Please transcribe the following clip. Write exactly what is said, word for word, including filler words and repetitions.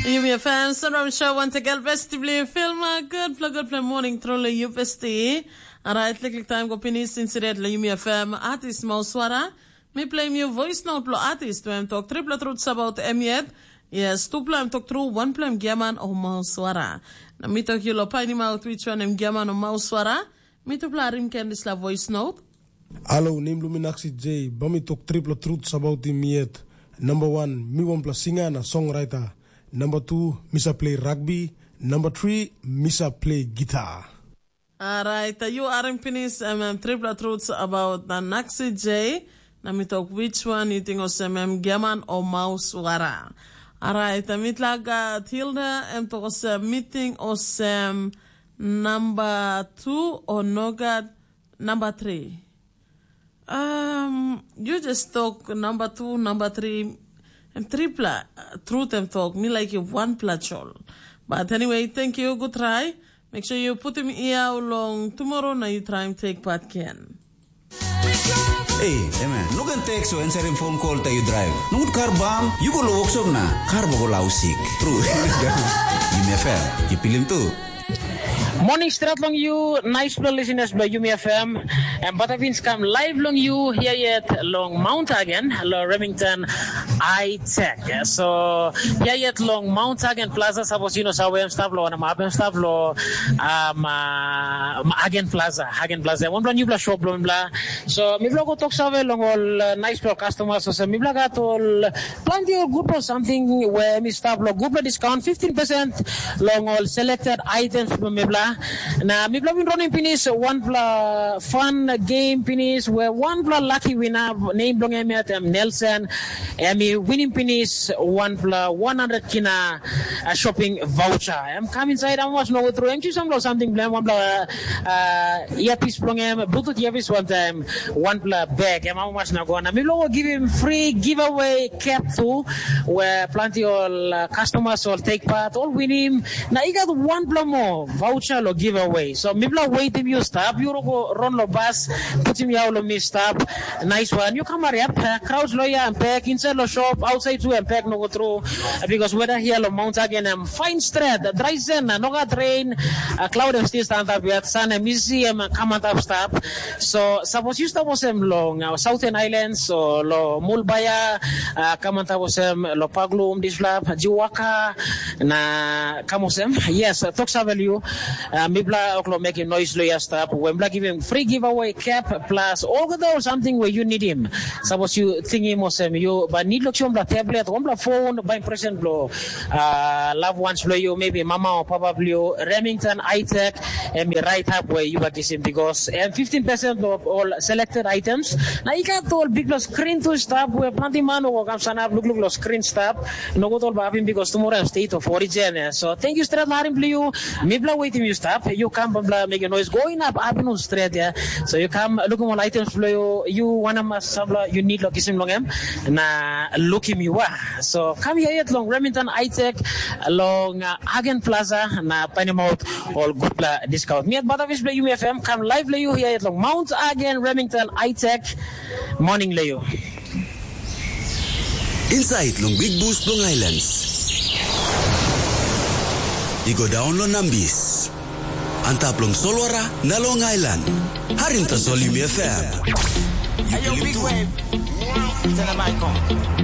Yumi F M, Sunrise Show, once again, besti bli filma, good fla, good fla morning, truly, you besti. Alright, liklik time go pinis, insidet la Yumi F M, artist Mauswara. Mi play you voice note lo artist, we em talk triple truths about em yet. Yes, tupla em talk true, one play em giaman o Mauswara. Na mi talk you lo painimaut which one em giaman o Mauswara. Mi tupla rim ken disla voice note. Alo, nem blo mi Naksi J, ba mi tok tripla truth sabaut mi yet. Namba wan, mi wanpela singa na songwriter. Namba tu, mi sa play rugby. Namba tri, mi sa play gita. Alright, yu harim pinis em, em tripla truths about na Naksi J, na mi tok which one you think osem em giaman o maus wara. Alright, mi tla gat Hilda, em tok osem mi think osem namba tu o nogat namba tri. Um, you just talk number two, number three, and tripla uh, truth and talk. Me like you one plachol. But anyway, thank you. Good try. Make sure you put him here along tomorrow. Now you try and take part, Ken. Ei, emen, no ken tek so answering phone call ta yu drive. Nogut kar bam, yu go lo workshop na kar bo go lau sik. True. Yumi F M, yu pilim tu. Morning stret long you, nice pla listeners by Yumi F M. And Batavins come live long you here yet long Mount Hagen, lo Remington I Tech. So here yet long Mount Hagen Plaza, suppose you know sa where I'm stop lo, and I'm up and stop lo um, uh, Hagen Plaza, Hagen Plaza. One plan you bla shop lo bla. So mi bla go talk sa long all uh, nice pla customers. So mi bla got all Planti ol gutpela samting we mi stap long gutpela discount fifteen percent long ol selected items bilong mipela. Na mipela bin ronim pinis wanpela fun game pinis we wanpela lucky winner, nem bilong em yet em Nelson, em i winim pinis wanpela one hundred kina uh, shopping voucher. Em kam inside, em was no tru. Em chusam long samting bilong em, wanpela uh, earpiece bilong em, Bluetooth earpiece wantaim wanpela bag, em amamas na go. Na mi lo givim free giveaway cap tu, where planti ol uh, customers ol take part, ol winim. Na i got wanpela mo voucher lo giveaway. So mipela waitim you stop, you go run lo bus, putim yau lo mi stop. Nice one. You come hurry up. Uh, crowds lo ya and pack, inside lo shop, outside tu and pack no go through. Uh, because weather here lo Mount Hagen, um, fine straight, dry sun, uh, no got rain, uh, cloud em still stand up yet, sun em easy em uh, come on top stop. So suppose you stop osem long uh, Southern Islands, so lo Mulbaya, uh, come on top osem lo Paglum, Dislap, Jiwaka, na come osem. Yes, uh, talk savel you. Uh, mipla oklo making noise lo ya stop. When black giving free giveaway cap plus all the or something where you need him. Suppose you think him osem you but need lo chom la tablet, one la phone, by present lo uh, loved ones lo you, maybe mama or papa lo you, Remington I Tech, and be right up where you are kissing because and fifteen percent of all selected items. Now you got all big plus screen to stop where planting man or come stand up, look, look, lo screen stop. No go tol ba hapin because tomorrow I'm state of origin. Eh. So thank you straight larim bli you. Mi bla waiting you stop. You come bla make a noise going up hapin on straight. Yeah. So you come look all items bla you. You wanna mas sabla you need lo kisim long em. Na look him you are. So come here yet long Remington I Tech long uh, Hagen Plaza na panim out all good bla discount. Mi at Batavis bla you F M come live bla you here yet long Mount Hagen Remington I Tech morning bla you. Inside long Big Bush long Islands. I go down long Nambis. Antap long Solwara na long Island. Harim tasol Yumi F M. You Hey, yo, believe Big too. Wave. Tell them I come.